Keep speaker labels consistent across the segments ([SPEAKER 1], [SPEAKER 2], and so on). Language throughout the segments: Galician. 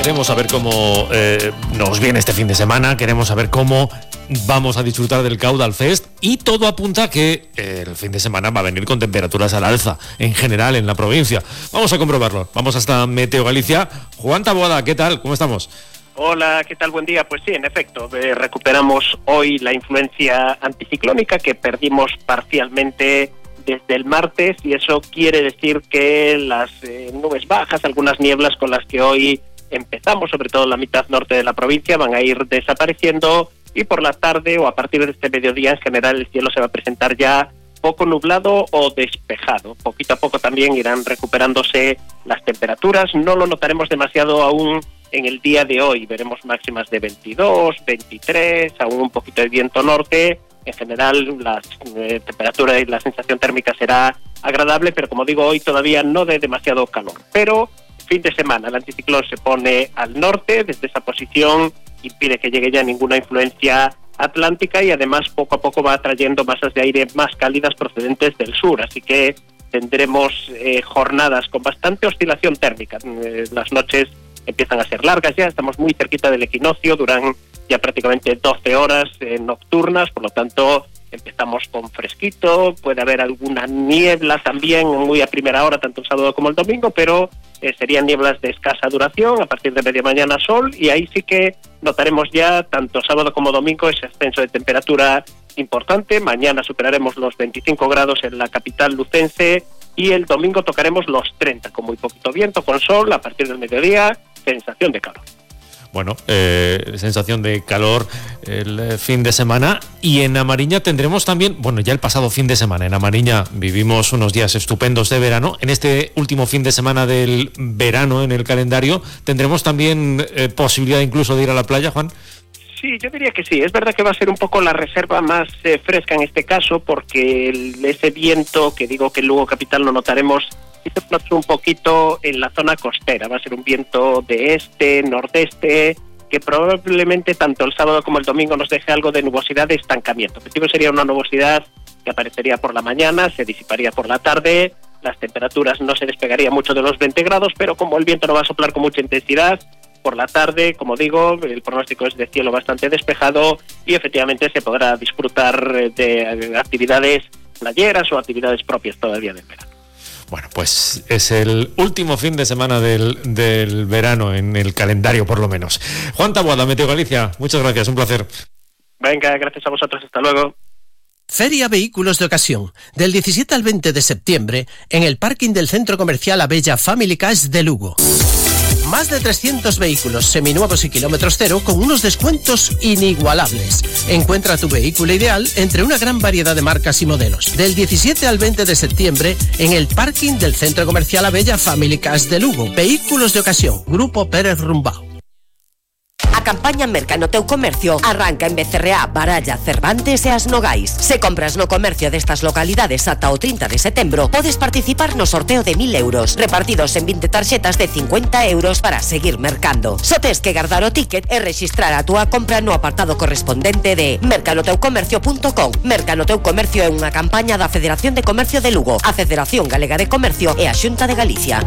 [SPEAKER 1] Queremos saber cómo nos viene este fin de semana, queremos saber cómo vamos a disfrutar del Caudal Fest y todo apunta a que el fin de semana va a venir con temperaturas al alza en general en la provincia. Vamos a comprobarlo. Vamos hasta Meteo Galicia. Juan Taboada, ¿qué tal? ¿Cómo estamos?
[SPEAKER 2] Hola, ¿qué tal? Buen día. Pues sí, en efecto, recuperamos hoy la influencia anticiclónica que perdimos parcialmente desde el martes y eso quiere decir que las nubes bajas, algunas nieblas con las que hoy empezamos, sobre todo en la mitad norte de la provincia, van a ir desapareciendo y por la tarde o a partir de este mediodía en general el cielo se va a presentar ya poco nublado o despejado. Poquito a poco también irán recuperándose las temperaturas, no lo notaremos demasiado aún en el día de hoy, veremos máximas de 22, 23, aún un poquito de viento norte. En general, la temperatura y la sensación térmica será agradable, pero como digo, hoy todavía no de demasiado calor. Pero fin de semana, el anticiclón se pone al norte, desde esa posición impide que llegue ya ninguna influencia atlántica y además poco a poco va atrayendo masas de aire más cálidas procedentes del sur, así que tendremos jornadas con bastante oscilación térmica. Las noches empiezan a ser largas ya, estamos muy cerquita del equinoccio, duran ya prácticamente 12 horas nocturnas, por lo tanto empezamos con fresquito, puede haber alguna niebla también muy a primera hora, tanto el sábado como el domingo, pero serían nieblas de escasa duración, a partir de media mañana sol, y ahí sí que notaremos ya tanto sábado como domingo ese ascenso de temperatura importante. Mañana superaremos los 25 grados en la capital lucense y el domingo tocaremos los 30, con muy poquito viento, con sol, a partir del mediodía, sensación de calor.
[SPEAKER 1] Bueno, sensación de calor el fin de semana y en Amariña tendremos también, bueno, ya el pasado fin de semana en Amariña vivimos unos días estupendos de verano, en este último fin de semana del verano en el calendario tendremos también posibilidad incluso de ir a la playa, Juan.
[SPEAKER 2] Sí, yo diría que sí. Es verdad que va a ser un poco la reserva más fresca en este caso porque ese viento que digo que en Lugo Capital lo notaremos un poquito en la zona costera, va a ser un viento de este, nordeste, que probablemente tanto el sábado como el domingo nos deje algo de nubosidad de estancamiento. En principio sería una nubosidad que aparecería por la mañana, se disiparía por la tarde, las temperaturas no se despegarían mucho de los 20 grados, pero como el viento no va a soplar con mucha intensidad, por la tarde, como digo, el pronóstico es de cielo bastante despejado y efectivamente se podrá disfrutar de actividades playeras o actividades propias todavía del verano.
[SPEAKER 1] Bueno, pues es el último fin de semana del verano en el calendario, por lo menos. Juan Taboada, Meteo Galicia, muchas gracias, un placer.
[SPEAKER 2] Venga, gracias a vosotros, hasta luego.
[SPEAKER 3] Feria Vehículos de Ocasión, del 17 al 20 de septiembre, en el parking del Centro Comercial Abella Family Cars de Lugo. Más de 300 vehículos seminuevos y kilómetros cero con unos descuentos inigualables. Encuentra tu vehículo ideal entre una gran variedad de marcas y modelos. Del 17 al 20 de septiembre en el parking del Centro Comercial Abella Family Cars de Lugo. Vehículos de Ocasión, Grupo Pérez Rumbao.
[SPEAKER 4] A campaña Merca no teu comercio arranca en Becerreá, Baralla, Cervantes e As Nogais. Se compras no comercio destas localidades ata o 30 de setembro, podes participar no sorteo de 1.000 euros, repartidos en 20 tarxetas de 50 euros para seguir mercando. Só tes que guardar o ticket e rexistrar a túa compra no apartado correspondente de mercanoteucomercio.com. Merca no teu comercio é unha campaña da Federación de Comercio de Lugo, a Federación Galega de Comercio e a Xunta de Galicia.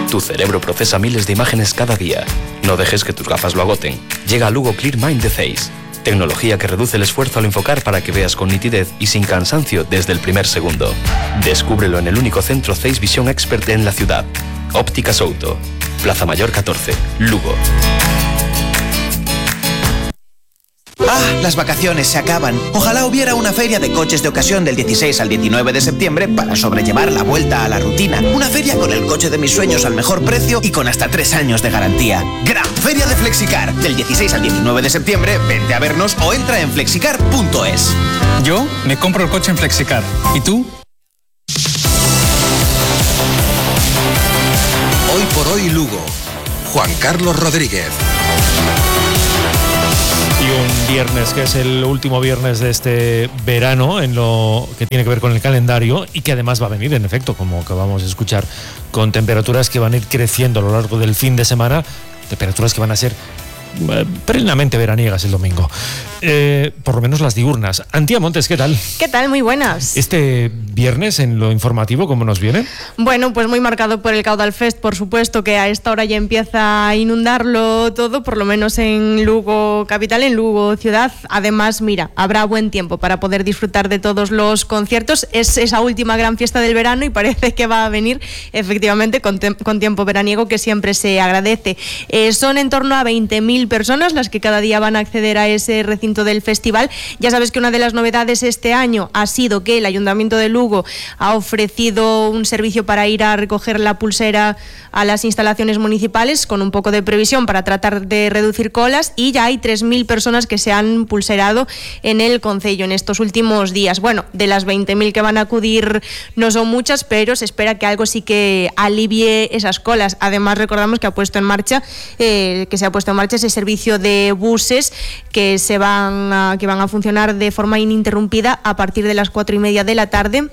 [SPEAKER 5] Tu cerebro procesa miles de imágenes cada día. No dejes que tus gafas lo agoten. Llega a Lugo Clear Mind de Zeiss. Tecnología que reduce el esfuerzo al enfocar para que veas con nitidez y sin cansancio desde el primer segundo. Descúbrelo en el único centro Zeiss Vision Expert en la ciudad. Ópticas Outo. Plaza Mayor 14, Lugo.
[SPEAKER 6] ¡Ah! Las vacaciones se acaban. Ojalá hubiera una feria de coches de ocasión del 16 al 19 de septiembre para sobrellevar la vuelta a la rutina. Una feria con el coche de mis sueños al mejor precio y con hasta 3 años de garantía. Gran Feria de Flexicar. Del 16 al 19 de septiembre, vente a vernos o entra en flexicar.es.
[SPEAKER 7] Yo me compro el coche en Flexicar. ¿Y tú?
[SPEAKER 8] Hoy por hoy Lugo. Juan Carlos Rodríguez.
[SPEAKER 1] Y un viernes que es el último viernes de este verano en lo que tiene que ver con el calendario y que además va a venir en efecto, como acabamos de escuchar, con temperaturas que van a ir creciendo a lo largo del fin de semana, temperaturas que van a ser plenamente veraniegas el domingo. Por lo menos las diurnas. Antía Montes, ¿qué tal?
[SPEAKER 9] ¿Qué tal? Muy buenas.
[SPEAKER 1] Este viernes en lo informativo, ¿cómo nos viene?
[SPEAKER 9] Bueno, pues muy marcado por el Caudal Fest, por supuesto, que a esta hora ya empieza a inundarlo todo, por lo menos en Lugo capital, en Lugo ciudad. Además, mira, habrá buen tiempo para poder disfrutar de todos los conciertos. Es esa última gran fiesta del verano y parece que va a venir efectivamente con tiempo veraniego, que siempre se agradece. Son en torno a 20.000 personas las que cada día van a acceder a ese recinto del festival. Ya sabes que una de las novedades este año ha sido que el Ayuntamiento de Lugo ha ofrecido un servicio para ir a recoger la pulsera a las instalaciones municipales con un poco de previsión para tratar de reducir colas, y ya hay 3.000 personas que se han pulserado en el concello en estos últimos días. Bueno, de las 20.000 que van a acudir no son muchas, pero se espera que algo sí que alivie esas colas. Además, recordamos que se ha puesto en marcha ese servicio de buses que van a funcionar de forma ininterrumpida a partir de las 4:30 de la tarde,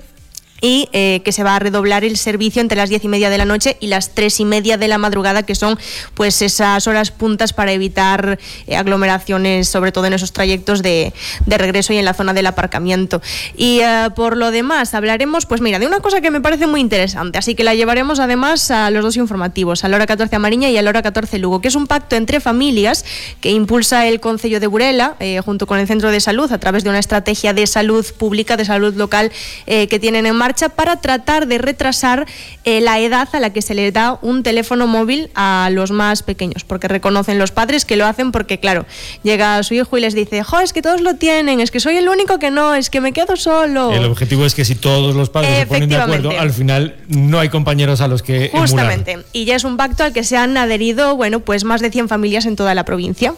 [SPEAKER 9] y que se va a redoblar el servicio entre las 10:30 de la noche y las 3:30 de la madrugada, que son pues esas horas puntas para evitar aglomeraciones, sobre todo en esos trayectos de regreso y en la zona del aparcamiento. Y por lo demás hablaremos, pues mira, de una cosa que me parece muy interesante, así que la llevaremos además a los dos informativos, a la hora 14 a Mariña y a la hora 14 Lugo, que es un pacto entre familias que impulsa el Concello de Burela junto con el Centro de Salud a través de una estrategia de salud pública, de salud local que tienen en marcha para tratar de retrasar la edad a la que se le da un teléfono móvil a los más pequeños, porque reconocen los padres que lo hacen porque, claro, llega su hijo y les dice: jo, es que todos lo tienen, es que soy el único que no, es que me quedo solo.
[SPEAKER 1] El objetivo es que si todos los padres se ponen de acuerdo, al final no hay compañeros a los que
[SPEAKER 9] justamente
[SPEAKER 1] emular.
[SPEAKER 9] Y ya es un pacto al que se han adherido, bueno, pues más de 100 familias en toda la provincia.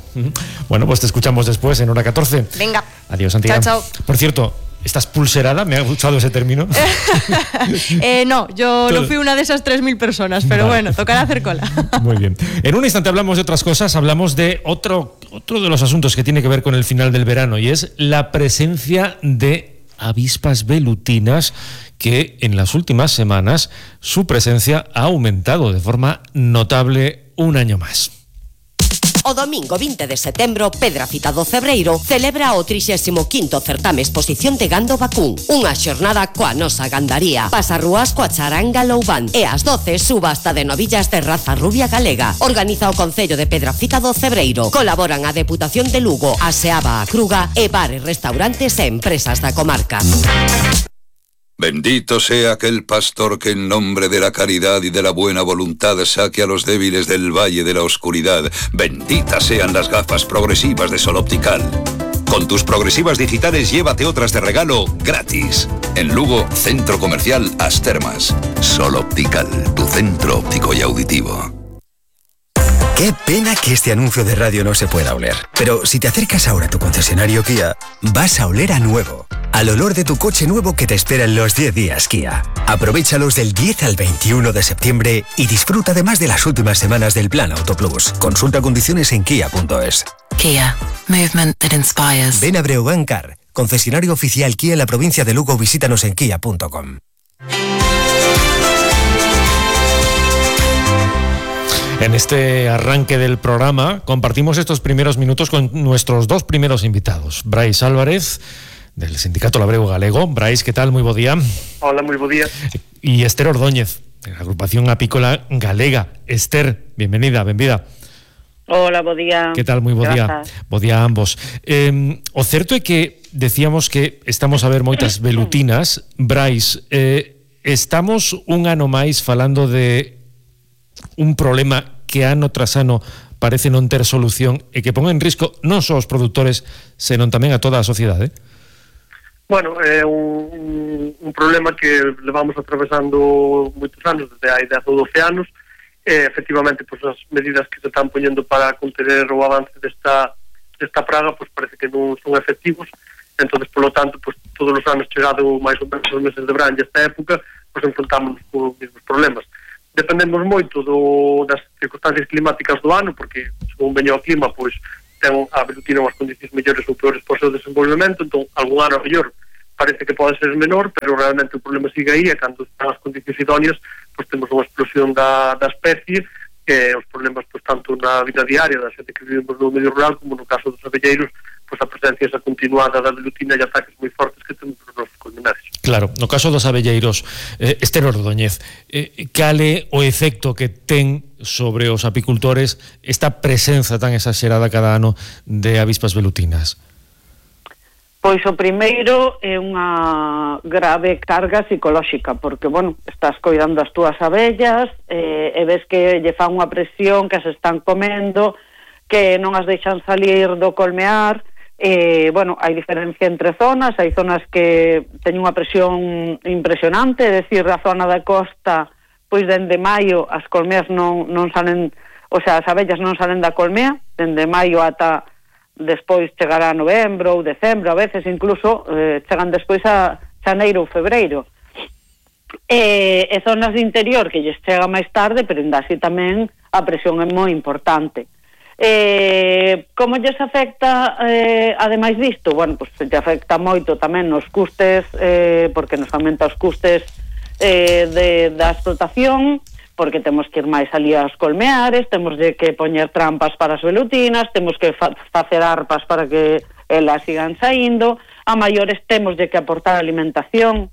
[SPEAKER 1] Bueno, pues te escuchamos después en hora 14.
[SPEAKER 9] Venga.
[SPEAKER 1] Adiós, Santiago.
[SPEAKER 9] Chao, chao.
[SPEAKER 1] Por cierto, ¿estás pulserada? Me ha gustado ese término.
[SPEAKER 9] No, yo no fui una de esas 3.000 personas, pero vale. Bueno, tocará hacer cola.
[SPEAKER 1] Muy bien. En un instante hablamos de otras cosas, hablamos de otro de los asuntos que tiene que ver con el final del verano, y es la presencia de avispas velutinas, que en las últimas semanas su presencia ha aumentado de forma notable un año más.
[SPEAKER 4] O domingo 20 de setembro, Pedrafita do Cebreiro celebra o 35º certame exposición de gando vacún. Unha xornada coa nosa gandaría. Pasarrúas coa charanga Loubán. E ás 12, subasta de novillas de raza rubia galega. Organiza o Concello de Pedrafita do Cebreiro. Colaboran a Deputación de Lugo, a Seaba a Cruga e bares, restaurantes e empresas da comarca.
[SPEAKER 10] Bendito sea aquel pastor que en nombre de la caridad y de la buena voluntad saque a los débiles del valle de la oscuridad. Benditas sean las gafas progresivas de Sol Optical. Con tus progresivas digitales llévate otras de regalo gratis. En Lugo, Centro Comercial As Termas. Sol Optical, tu centro óptico y auditivo.
[SPEAKER 11] Qué pena que este anuncio de radio no se pueda oler. Pero si te acercas ahora a tu concesionario Kia, vas a oler a nuevo. Al olor de tu coche nuevo que te espera en los 10 días Kia. Aprovéchalos del 10 al 21 de septiembre y disfruta además de las últimas semanas del Plan Auto Plus. Consulta condiciones en kia.es.
[SPEAKER 12] Kia. Movement that inspires.
[SPEAKER 11] Ven a Breogán Car, concesionario oficial Kia en la provincia de Lugo. Visítanos en kia.com.
[SPEAKER 1] En este arranque del programa compartimos estos primeros minutos con nuestros dos primeros invitados. Brais Álvarez, del Sindicato Labrego Galego. Brais, ¿qué tal? Muy bo día.
[SPEAKER 13] Hola, muy bo día.
[SPEAKER 1] Y Esther Ordóñez, de la Agrupación Apícola Galega. Esther, bienvenida, benvida.
[SPEAKER 14] Hola, bo día.
[SPEAKER 1] ¿Qué tal? Muy bo día. Bo día a ambos. O certo é que decíamos que estamos a ver moitas velutinas. Brais, estamos un ano máis falando de un problema que ano tras ano parece non ter solución e que pon en risco non só os produtores, senón tamén a toda a sociedade.
[SPEAKER 13] Bueno, é un problema que levamos atravesando moitos anos, desde hai 10 ou 12 anos. Efectivamente, pues, as medidas que se están poñendo para conter o avance desta praga, pues parece que non son efectivos. Entonces, por lo tanto, pues todos os anos chegado máis ou menos os meses de verán e esta época, pues enfrontamos con os mesmos problemas. Dependemos moito das circunstancias climáticas do ano, porque según veño o clima, pois ten a velutina unhas condicións mellores ou peores para o seu desenvolvemento. Entón, algún ano mellor parece que pode ser menor, pero realmente o problema sigue aí, e cando están as condicións idóneas, pois temos unha explosión da especie, que os problemas pois tanto na vida diaria da xente que vivimos no medio rural como no caso dos abelleiros, pois a presencia esa continuada da velutina e ataques moi fortes que temos nos nosos colmenares.
[SPEAKER 1] Claro, no caso dos abelleiros, Esther Ordóñez, cale o efecto que ten sobre os apicultores esta presenza tan exagerada cada ano de avispas velutinas?
[SPEAKER 14] Pois o primeiro é unha grave carga psicolóxica, porque, bueno, estás coidando as túas abellas e ves que lle fan unha presión, que as están comendo, que non as deixan salir do colmear. Bueno, hai diferencia entre zonas, hai zonas que teñen unha presión impresionante, é dicir, a zona da costa, pois dende maio as colmeas non salen, o sea, as abellas non salen da colmea, dende maio ata despois chegará novembro ou decembro, a veces incluso chegan despois a xaneiro ou febreiro. E zonas de interior que lles chega máis tarde, pero ainda así tamén a presión é moi importante. Como lles afecta ademais disto? Bueno, pues lle afecta moito tamén nos custes, porque nos aumenta os custes da explotación, porque temos que ir máis ali aos colmeares, temos de que poñer trampas para as velutinas, temos que facer arpas para que elas sigan saindo, a maiores temos de que aportar alimentación,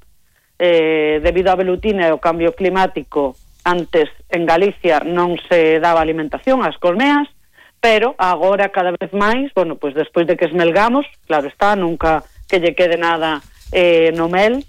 [SPEAKER 14] debido á velutina e ao cambio climático. Antes en Galicia non se daba alimentación ás colmeas, pero agora cada vez máis, bueno, pois despois de que esmelgamos, claro está, nunca que lle quede nada no mel,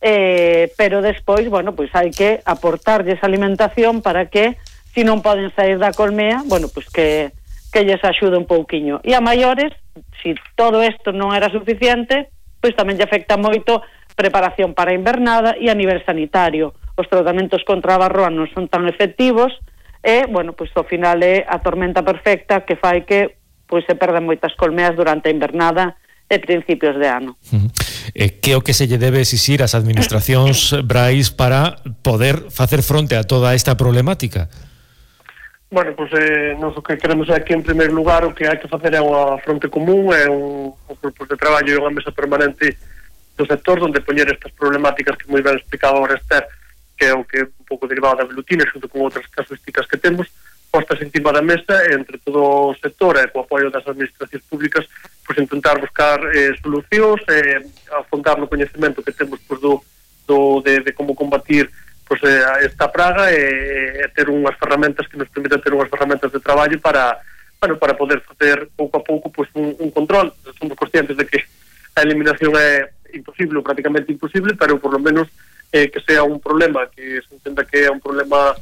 [SPEAKER 14] pero despois, bueno, pois hai que aportarlles alimentación para que, se non poden sair da colmea, bueno, pois que lles axude un pouquiño. E a maiores, se todo isto non era suficiente, pois tamén lle afecta moito preparación para a invernada e a nivel sanitario. Os tratamentos contra a varroa non son tan efectivos e, bueno, pois ao final é a tormenta perfecta que fai que pois se perdan moitas colmeas durante a invernada e principios de ano.
[SPEAKER 1] Que é o que se lle debe exixir ás administracións, Brais, para poder facer fronte a toda esta problemática?
[SPEAKER 13] Bueno, pois nós o que queremos é que, en primeiro lugar, o que hai que facer é unha fronte común, é un grupo de traballo e unha mesa permanente do sector onde poñer estas problemáticas que moi ben explicaba agora Esther, que é o que un pouco derivado da velutina, xunto con outras casuísticas que temos, postas encima da mesa entre todo o sector e co apoio das administracións públicas, pois intentar buscar solucións, afondar no coñecemento que temos pois, de como combatir pois, esta praga e ter unhas ferramentas que nos permitan ter unhas ferramentas de traballo para poder facer pouco a pouco pois, un control. Somos conscientes de que a eliminación é imposible ou prácticamente imposible, pero por lo menos que sea un problema, que se entenda que é un problema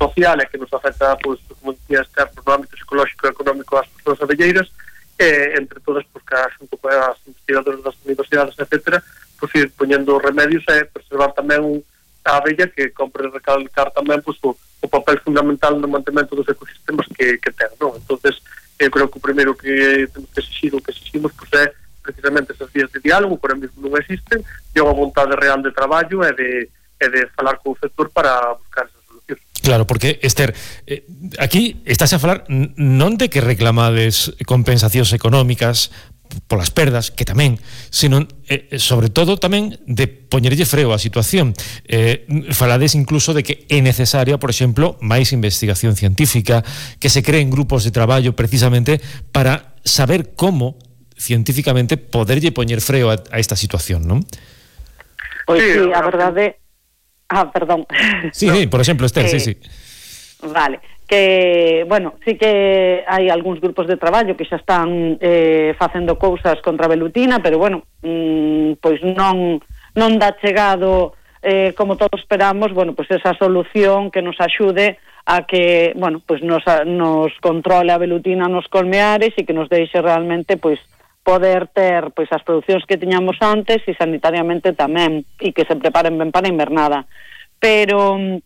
[SPEAKER 13] social e que nos afecta, pois, como decía Esther, no ámbito psicolóxico e económico ás persoas abelleiras, entre todas, pois, que xunto con as investigadoras das universidades, etcétera, pois ir poñendo remedios e preservar tamén a abella, que compre recalcar tamén pois, o papel fundamental no mantemento dos ecosistemas que ten, non? Entonces, eu creo que o primeiro que temos que exixir, o que exiximos, pois, é precisamente esas vías de diálogo, por aí mesmo non existen, e unha vontade real de traballo e de falar co sector para buscar esas solucións.
[SPEAKER 1] Claro, porque, Esther, aquí estás a falar non de que reclamades compensacións económicas polas perdas, que tamén, sino, sobre todo, tamén de poñerlle freo á situación. Falades incluso de que é necesaria, por exemplo, máis investigación científica, que se creen grupos de traballo precisamente para saber como científicamente poderlle poñer freo a esta situación, non?
[SPEAKER 14] Pois sí, a verdade... perdón.
[SPEAKER 1] Sí, por exemplo, Esther, sí.
[SPEAKER 14] Vale, que, bueno, sí que hai algúns grupos de traballo que xa están facendo cousas contra a velutina, pero, bueno, pois non dá chegado, como todos esperamos, bueno, pois esa solución que nos axude a que, bueno, pois nos controle a velutina nos colmeares e que nos deixe realmente, pois, poder ter pois as producións que tiñamos antes e sanitariamente tamén, e que se preparen ben para a invernada. Pero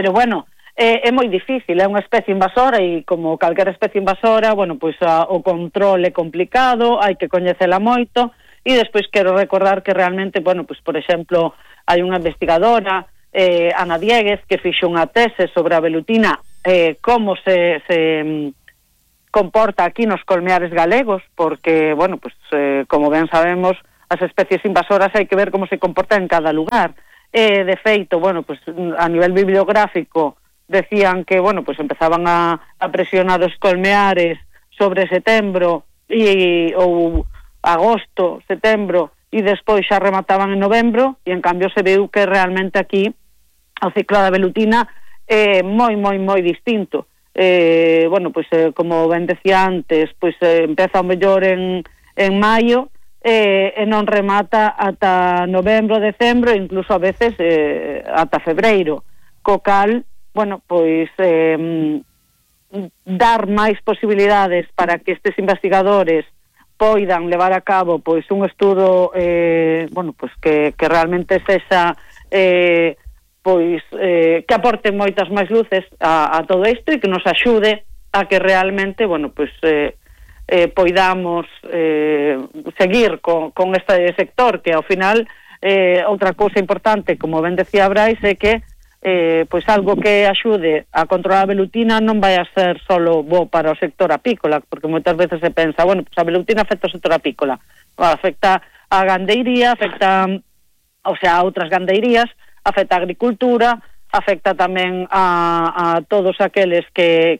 [SPEAKER 14] bueno, é moi difícil, é unha especie invasora e como calquera especie invasora, bueno, pois o control é complicado, hai que coñecela moito e despois quero recordar que realmente, bueno, pois por exemplo, hai unha investigadora, Ana Dieguez, que fixo unha tese sobre a velutina, como se comporta aquí nos colmeares galegos, porque, bueno, pues como ben sabemos, as especies invasoras hai que ver como se comporta en cada lugar. De feito, bueno, pues a nivel bibliográfico, decían que, bueno, pues empezaban a presionar os colmeares sobre setembro ou agosto, setembro, e despois xa remataban en novembro, e en cambio se viu que realmente aquí o ciclo da velutina é moi distinto. Bueno, pues como ben decía antes, pues empeza o mellor en maio e non remata ata novembro, decembro, incluso a veces ata febreiro, co cal, bueno, pues dar máis posibilidades para que estes investigadores poidan levar a cabo pois un estudo bueno, pues que realmente sexa pois que aporte moitas máis luces a todo isto e que nos axude a que realmente, bueno, pues poidamos seguir con este sector, que ao final outra cousa importante, como ben decía Brais, é que pois algo que axude a controlar a velutina non vai a ser solo bo para o sector apícola, porque moitas veces se pensa, bueno, pues a velutina afecta o sector apícola, afecta a gandeiría, afecta, o sea, a outras gandeirías, afecta a agricultura, afecta tamén a todos aqueles que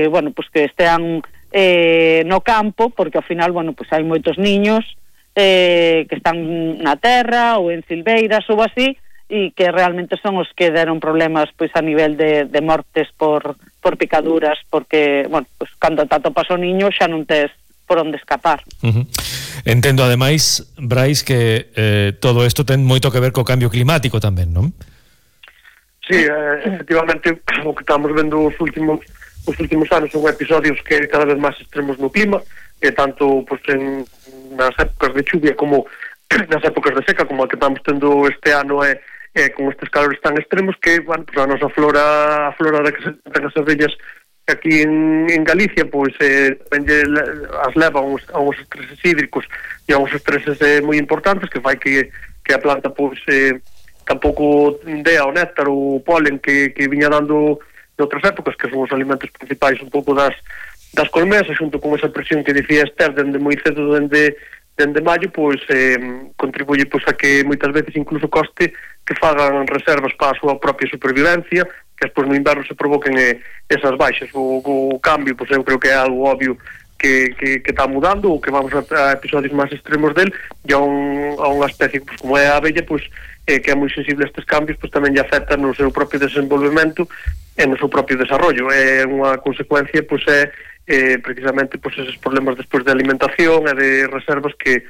[SPEAKER 14] bueno, pues que estean no campo, porque ao final, bueno, pues hai moitos niños que están na terra ou en silveiras ou así, e que realmente son os que deron problemas pois a nivel de mortes por picaduras, porque, bueno, pues cando te atopas o niño xa non tes por onde escapar.
[SPEAKER 1] Entendo, ademais, Brais, que todo isto ten moito que ver co cambio climático tamén, non?
[SPEAKER 13] Sí, efectivamente, o que estamos vendo os últimos anos son episodios que cada vez máis extremos no clima, tanto pues, nas épocas de chuvia como nas épocas de seca, como a que estamos tendo este ano, con estes calores tan extremos que, bueno, pues a nosa flora de que se ten as abellas aquí en Galicia, pois as leva a uns estreses hídricos e a uns estreses moi importantes que fai que a planta pois tampouco dea o néctar ou o polen que viña dando noutras épocas, que son os alimentos principais un pouco das colmesas, xunto con esa presión que dicía Esther dende moi cedo, dende maio, pois contribuye pois a que moitas veces incluso coste que fagan reservas para a súa propia supervivencia, que despois no inverno se provoquen esas baixas. O cambio, pois eu creo que é algo obvio que está mudando, ou que vamos a episodios máis extremos del, e a unha especie pois, como é a abella, pois que é moi sensible a estes cambios, pois tamén lle afecta no seu propio desenvolvemento e no seu propio desarrollo. É unha consecuencia, pois precisamente pois esos problemas despois de alimentación e de reservas que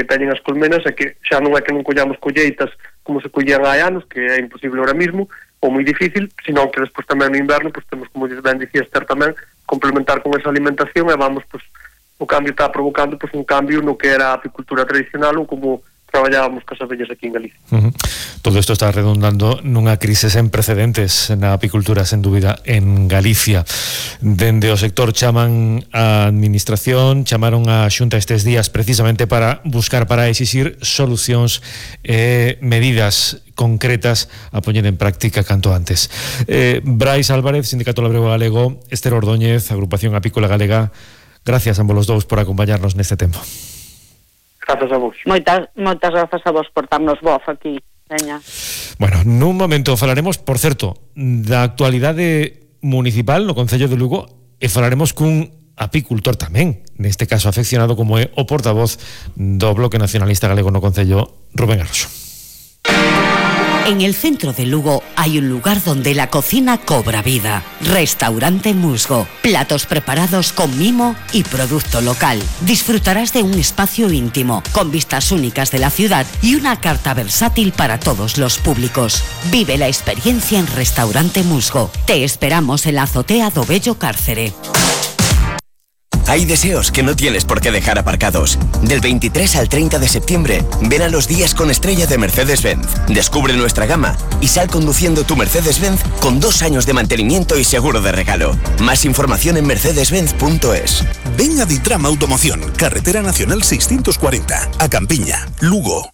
[SPEAKER 13] teñen as colmenas, e que xa non é que non collamos colleitas como se collían hai anos, que é imposible ahora mismo, ou moi difícil, senón que despois tamén no inverno pois temos, como ben dicía Esther tamén, complementar con esa alimentación, e vamos, pois o cambio está provocando pois un cambio no que era a apicultura tradicional ou como traballábamos cas abellas aquí en Galicia.
[SPEAKER 1] Todo isto está redundando nunha crise sen precedentes na apicultura, sen dúbida, en Galicia. Dende o sector chaman a administración, chamaron a Xunta estes días precisamente para buscar, para exixir solucións e medidas concretas a poñer en práctica canto antes. Brais Álvarez, Sindicato Labrego Galego, Esther Ordóñez, Agrupación Apícola Galega, gracias a ambos os dous por acompañarnos neste tempo.
[SPEAKER 13] Grazas a vos.
[SPEAKER 14] Moitas grazas a vos por darnos voz aquí, veña.
[SPEAKER 1] Bueno, nun momento falaremos, por certo, da actualidade municipal no Concello de Lugo, e falaremos cun apicultor tamén, neste caso afeccionado como é o portavoz do Bloque Nacionalista Galego no Concello, Rubén Arroxo.
[SPEAKER 4] En el centro de Lugo hay un lugar donde la cocina cobra vida. Restaurante Musgo. Platos preparados con mimo y producto local. Disfrutarás de un espacio íntimo, con vistas únicas de la ciudad y una carta versátil para todos los públicos. Vive la experiencia en Restaurante Musgo. Te esperamos en la azotea do Bello Cárcere.
[SPEAKER 11] Hay deseos que no tienes por qué dejar aparcados. Del 23 al 30 de septiembre, ven a los días con estrella de Mercedes-Benz. Descubre nuestra gama y sal conduciendo tu Mercedes-Benz con 2 años de mantenimiento y seguro de regalo. Más información en mercedesbenz.es.
[SPEAKER 8] Ven a Ditrama Automoción, Carretera Nacional 640, a Campiña, Lugo.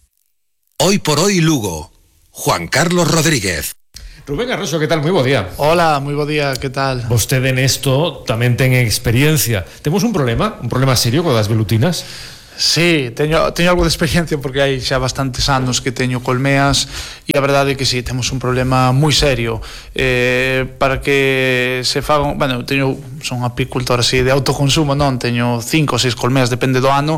[SPEAKER 8] Hoy por hoy Lugo. Juan Carlos Rodríguez.
[SPEAKER 1] Rubén Arroxo, que tal? Moi bo día.
[SPEAKER 15] Hola, moi bo día, que tal?
[SPEAKER 1] Vostede nesto tamén ten experiencia. Temos un problema serio co das velutinas?
[SPEAKER 15] Sí, teño algo de experiencia porque hai xa bastantes anos que teño colmeas e a verdade é que sí, temos un problema moi serio para que se fagan, son apicultor así de autoconsumo, non, teño 5 ou 6 colmeas, depende do ano.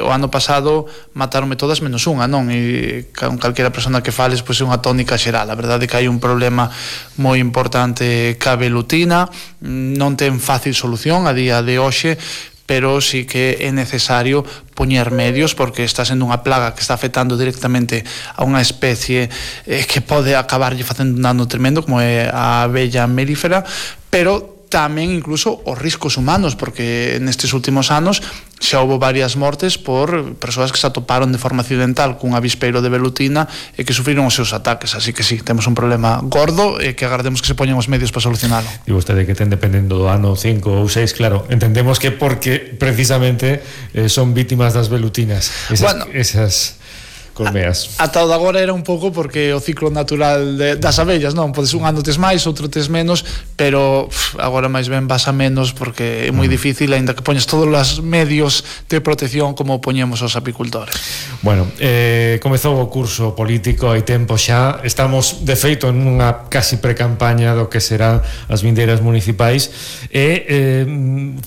[SPEAKER 15] O ano pasado mataronme todas menos unha, non, e con calquera persona que fales pois é unha tónica xeral. A verdade é que hai un problema moi importante ca velutina, non ten fácil solución a día de hoxe, pero sí que é necesario poñer medios porque está sendo unha plaga que está afectando directamente a unha especie que pode acabarlle facendo un dano tremendo como é a abella melífera, pero tamén incluso os riscos humanos, porque nestes últimos anos xa houve varias mortes por persoas que se atoparon de forma accidental cun avispeiro de velutina e que sufriron os seus ataques. Así que sí, temos un problema gordo e que agardemos que se poñan os medios para solucionalo.
[SPEAKER 1] E vostede que ten dependendo do ano 5 ou 6, claro, entendemos que porque precisamente son vítimas das velutinas, esas colmeas.
[SPEAKER 15] Ata o de agora era un pouco porque o ciclo natural das abellas, non? Podes un ano tes máis, outro tes menos, pero agora máis ben vas a menos porque é moi difícil, aínda que poñes todos os medios de protección como poñemos os apicultores.
[SPEAKER 1] Bueno, comezou o curso político hai tempo xa, estamos de feito en unha casi precampaña do que serán as vindeiras municipais e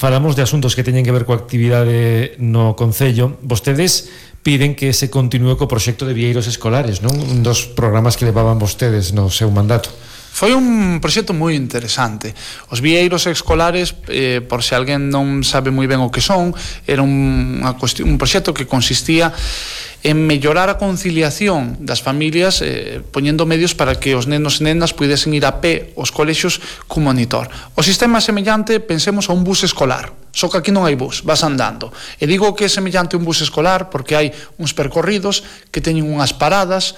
[SPEAKER 1] falamos de asuntos que teñen que ver coa actividade no concello. Vostedes piden que se continúe co proxecto de vieiros escolares, non? Un dos programas que levaban vostedes no seu mandato.
[SPEAKER 15] Foi un proxecto moi interesante. Os vieiros escolares, por se alguén non sabe moi ben o que son, era un proxecto que consistía en mellorar a conciliación das familias poñendo medios para que os nenos e nenas pudesen ir a pé aos colexios cun monitor. O sistema é semellante, pensemos, a un bus escolar, só que aquí non hai bus, vas andando. E digo que é semellante a un bus escolar porque hai uns percorridos que teñen unhas paradas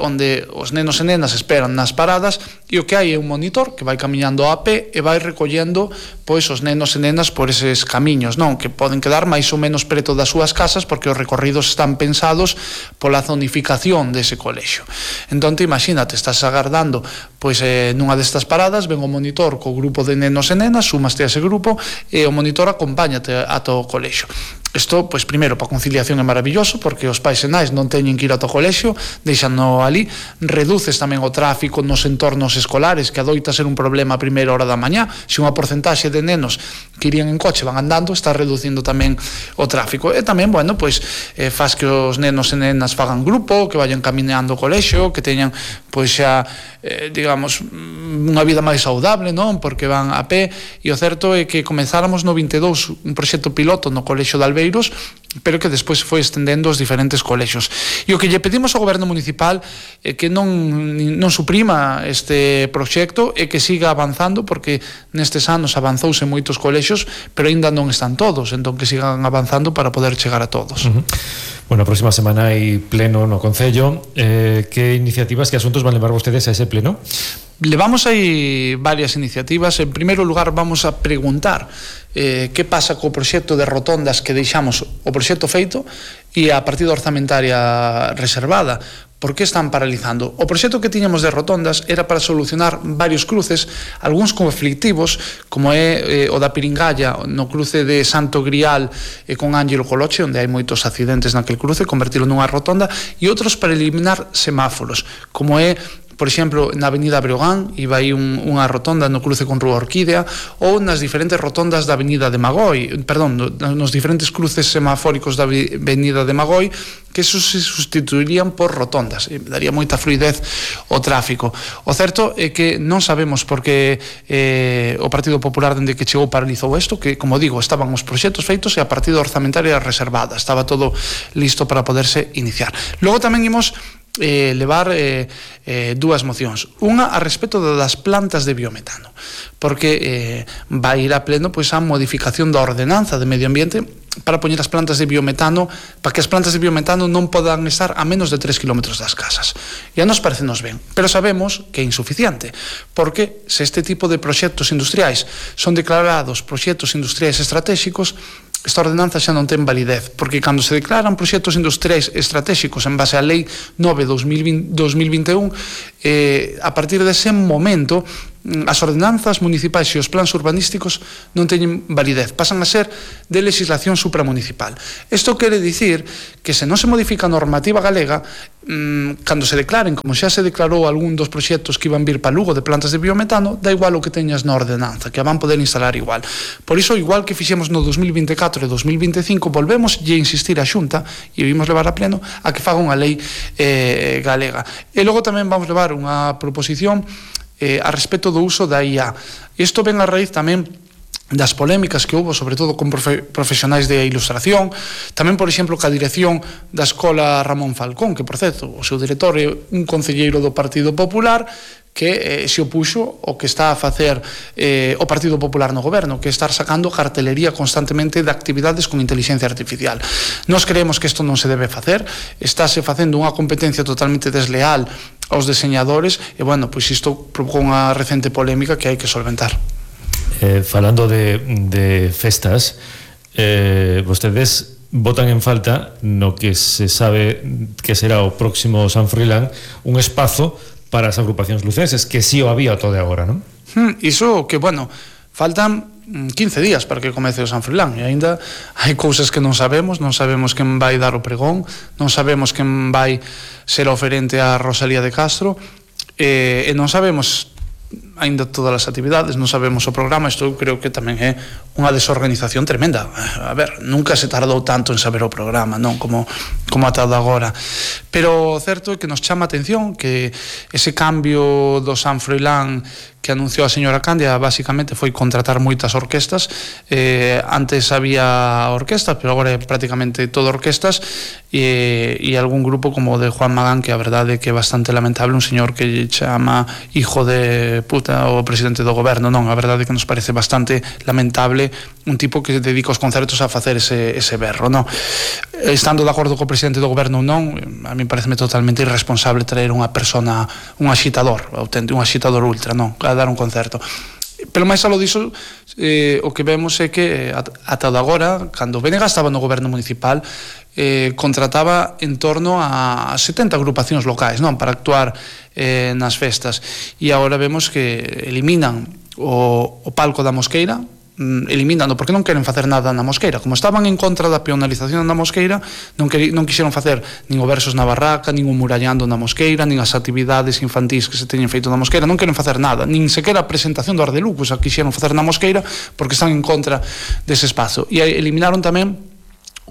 [SPEAKER 15] onde os nenos e nenas esperan nas paradas e o que hai é un monitor que vai camiñando a pé e vai recollendo pois os nenos e nenas por eses camiños, non? Que poden quedar máis ou menos preto das súas casas porque os recorridos están pensados pola zonificación dese colexio. Entón, imagínate, estás agardando pois nunha destas paradas, ven o monitor co grupo de nenos e nenas, sumaste a ese grupo e o monitor acompáñate ata o colexio. Isto, pois, primeiro, para a conciliación é maravilloso porque os pais e nais non teñen que ir ata o colexio, deixano ali, reduces tamén o tráfico nos entornos escolares, que adoita ser un problema a primeira hora da mañá. Se unha porcentaxe de nenos que irían en coche van andando, está reducindo tamén o tráfico. E tamén, bueno, pois, faz que os nenos e nenas fagan grupo, que vayan camiñando ao colexio, que teñan, pois, xa, digamos, unha vida máis saudable, non? Porque van a pé, e o certo é que comezáramos no 22 un proxecto piloto no colexio de Albeiros, pero que despois foi estendendo aos diferentes colexios. E o que lle pedimos ao goberno municipal é que non suprima este proxecto e que siga avanzando, porque nestes anos avanzouse en moitos colexios, pero aínda non están todos, entón que sigan avanzando para poder chegar a todos.
[SPEAKER 1] Bueno, a próxima semana hai pleno no Concello. Que iniciativas, que asuntos van levar vostedes a ese pleno?
[SPEAKER 15] Levamos aí varias iniciativas. En primeiro lugar, vamos a preguntar que pasa co proxecto de rotondas que deixamos o proxecto feito e a partida orzamentaria reservada. Por que están paralizando? O proxecto que tiñamos de rotondas era para solucionar varios cruces, algúns conflictivos, como é o da Piringalla, no cruce de Santo Grial e con Ángelo Coloche, onde hai moitos accidentes naquel cruce, convertilo nunha rotonda, e outros para eliminar semáforos, como é, por exemplo, na Avenida Breogán, iba aí unha rotonda no cruce con Rúa Orquídea, ou nas diferentes rotondas da Avenida de Magoi, nos diferentes cruces semafóricos da Avenida de Magoi, que eso se sustituirían por rotondas, e daría moita fluidez ao tráfico. O certo é que non sabemos por que o Partido Popular, dende que chegou, paralizou isto, que, como digo, estaban os proxectos feitos e a partida orzamentaria reservada, estaba todo listo para poderse iniciar. Logo tamén imos levar dúas mocións, unha a respecto das plantas de biometano, porque vai ir a pleno pois a modificación da ordenanza de medio ambiente para poñer as plantas de biometano, para que as plantas de biometano non podan estar a menos de 3 km das casas. E a nos parecenos ben, pero sabemos que é insuficiente, porque se este tipo de proxectos industriais son declarados proxectos industriais estratégicos, esta ordenanza xa non ten validez, porque cando se declaran proxectos industriais estratégicos en base á Lei 9/2021, a partir dese momento as ordenanzas municipais e os plans urbanísticos non teñen validez, pasan a ser de legislación supramunicipal. Isto quere dicir que se non se modifica a normativa galega, cando se declaren, como xa se declarou algún dos proxectos que iban vir para Lugo de plantas de biometano, da igual o que teñas na ordenanza, que a van poder instalar igual. Por iso, igual que fixemos no 2024 e 2025, volvemos e insistir a Xunta, e vimos levar a pleno, a que faga unha lei galega. E logo tamén vamos levar unha proposición a respecto do uso da IA. Isto ven a raíz tamén das polémicas que houve, sobre todo con profesionais de ilustración, tamén, por exemplo, ca dirección da Escola Ramón Falcón, que, por certo, o seu director é un concelleiro do Partido Popular, que se opuxo o que está a facer o Partido Popular no goberno, que é estar sacando cartelería constantemente de actividades con inteligencia artificial. Nos creemos que isto non se debe facer, estáse facendo unha competencia totalmente desleal aos deseñadores, e, bueno, pois isto provocou unha recente polémica que hai que solventar.
[SPEAKER 1] Falando de festas, vostedes votan en falta no que se sabe que será o próximo San Froilán un espazo para as agrupacións lucenses, que sí o había todo de agora, non?
[SPEAKER 15] Iso que, bueno, faltan 15 días para que comece o San Froilán, e aínda hai cousas que non sabemos quen vai dar o pregón, non sabemos quen vai ser oferente a Rosalía de Castro, e non sabemos aínda todas as actividades, non sabemos o programa. Isto creo que tamén é unha desorganización tremenda. A ver, nunca se tardou tanto en saber o programa, non como ata agora. Pero o certo é que nos chama a atención que ese cambio do San Froilán que anunciou a señora Cándia basicamente foi contratar moitas orquestas. Antes había orquestas, pero agora é prácticamente todo orquestas, e algún grupo como o de Juan Magán, que a verdade é que é bastante lamentable, un señor que chama hijo de puta o presidente do goberno. Non, a verdade é que nos parece bastante lamentable un tipo que dedica os concertos a facer ese berro, non? Estando de acordo co presidente do goberno ou non, a mí pareceme totalmente irresponsable traer unha persona, un axitador, un axitador ultra, non, a dar un concerto. Pero máis aló diso, o que vemos é que ata agora, cando o BNG estaba no goberno municipal, contrataba en torno a 70 agrupacións locais, non, para actuar nas festas, e agora vemos que eliminan o palco da Mosqueira, eliminando, porque non queren facer nada na Mosqueira. Como estaban en contra da peonalización na Mosqueira, non quixeron facer nin o Versos na Barraca, nin o Murallando na Mosqueira, nin as actividades infantís que se teñen feito na Mosqueira. Non queren facer nada, nin sequera a presentación do Ardelucos a quixeron facer na Mosqueira, porque están en contra dese espazo. E eliminaron tamén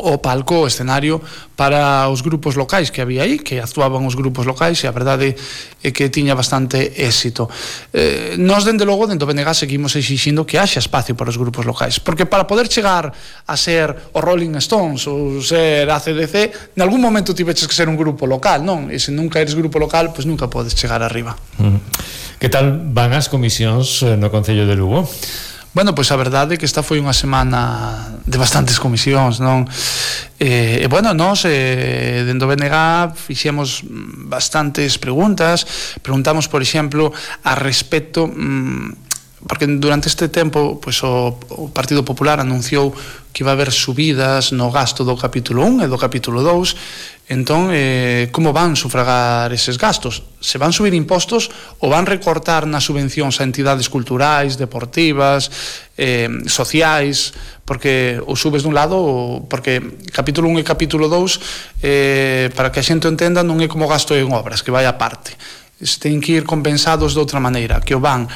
[SPEAKER 15] o palco, o escenario para os grupos locais que había aí, que actuaban os grupos locais, e a verdade é que tiña bastante éxito. Nós, dende logo, dentro do BNG, seguimos exixindo que haxa espacio para os grupos locais, porque para poder chegar a ser os Rolling Stones ou ser AC/DC, en algún momento tiveches que ser un grupo local, non? E se nunca eres grupo local, pois nunca podes chegar arriba.
[SPEAKER 1] Que tal van as comisións no Concello de Lugo?
[SPEAKER 15] Bueno, pois a verdade é que esta foi unha semana de bastantes comisións, non? E bueno, nós dentro do BNG fixemos bastantes preguntamos, por exemplo, a respecto, porque durante este tempo pois o Partido Popular anunciou que iba a haber subidas no gasto do capítulo 1 e do capítulo 2. Entón, como van sufragar eses gastos? Se van subir impostos ou van recortar nas subvencións a entidades culturais, deportivas, sociais, porque ou subes dun lado, porque capítulo 1 e capítulo 2, para que a xente entenda, non é como gasto en obras, que vai a parte. Ten que ir compensados de outra maneira, que o van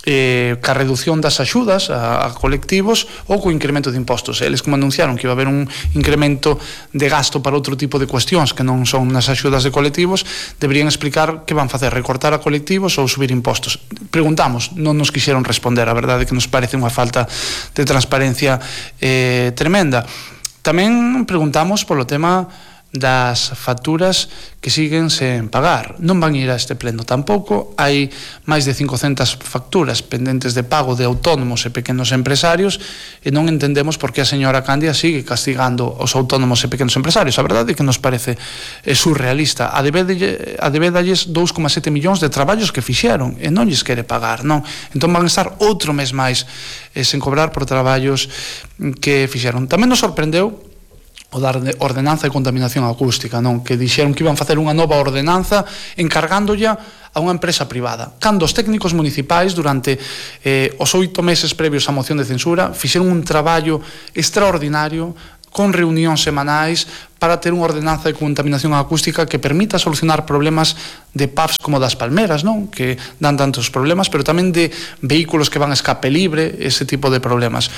[SPEAKER 15] ca reducción das axudas a colectivos ou co incremento de impostos. Eles, como anunciaron que iba a haber un incremento de gasto para outro tipo de cuestións que non son nas axudas de colectivos, deberían explicar que van facer, recortar a colectivos ou subir impostos. Preguntamos, non nos quixeron responder. A verdade é que nos parece unha falta de transparencia tremenda. Tamén preguntamos polo tema das facturas que siguen sen pagar. Non van ir a este pleno tampouco. Hai máis de 500 facturas pendentes de pago de autónomos e pequenos empresarios, e non entendemos por que a señora Cándia sigue castigando os autónomos e pequenos empresarios. A verdade é que nos parece surrealista. A debedalles 2,7 millóns de traballos que fixeron e non lles quere pagar, non? Entón van estar outro mes máis sen cobrar por traballos que fixeron. Tamén nos sorprendeu o da ordenanza de contaminación acústica, non? Que dixeron que iban facer unha nova ordenanza encargándolla a unha empresa privada. Cando os técnicos municipais durante os 8 meses previos á moción de censura fixeron un traballo extraordinario con reunións semanais para ter unha ordenanza de contaminación acústica que permita solucionar problemas de pubs como das Palmeras, non? Que dan tantos problemas, pero tamén de vehículos que van a escape libre, ese tipo de problemas.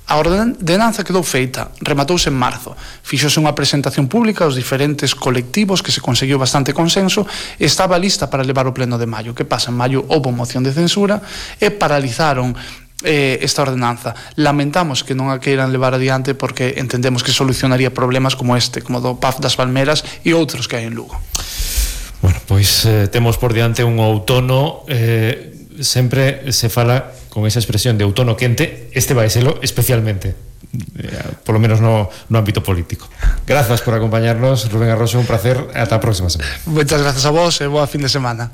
[SPEAKER 15] A ordenanza quedou feita, rematouse en marzo. Fixose unha presentación pública aos diferentes colectivos que se conseguiu bastante consenso e estaba lista para levar o pleno de maio. Que pasa? En maio houve moción de censura e paralizaron esta ordenanza. Lamentamos que non a queiran levar adiante porque entendemos que solucionaría problemas como este, como do PAF das Palmeras e outros que hai en Lugo.
[SPEAKER 1] Bueno, pois temos por diante un outono, sempre se fala con esa expresión de outono quente, este vai selo especialmente, por lo menos no ámbito político. Grazas por acompañarnos, Rubén Arroxo, un placer, ata a próxima semana.
[SPEAKER 15] Moitas grazas a vos e boa fin de semana.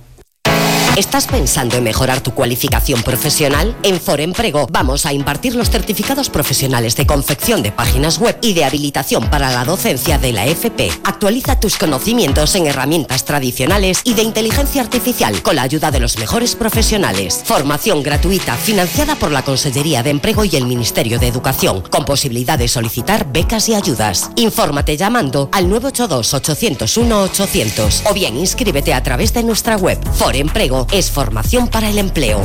[SPEAKER 4] ¿Estás pensando en mejorar tu cualificación profesional? En Foremprego vamos a impartir los certificados profesionales de confección de páginas web y de habilitación para la docencia de la FP. Actualiza tus conocimientos en herramientas tradicionales y de inteligencia artificial con la ayuda de los mejores profesionales. Formación gratuita financiada por la Consellería de Empleo y el Ministerio de Educación, con posibilidad de solicitar becas y ayudas. Infórmate llamando al 982-801-800 o bien inscríbete a través de nuestra web. Foremprego es formación para el empleo.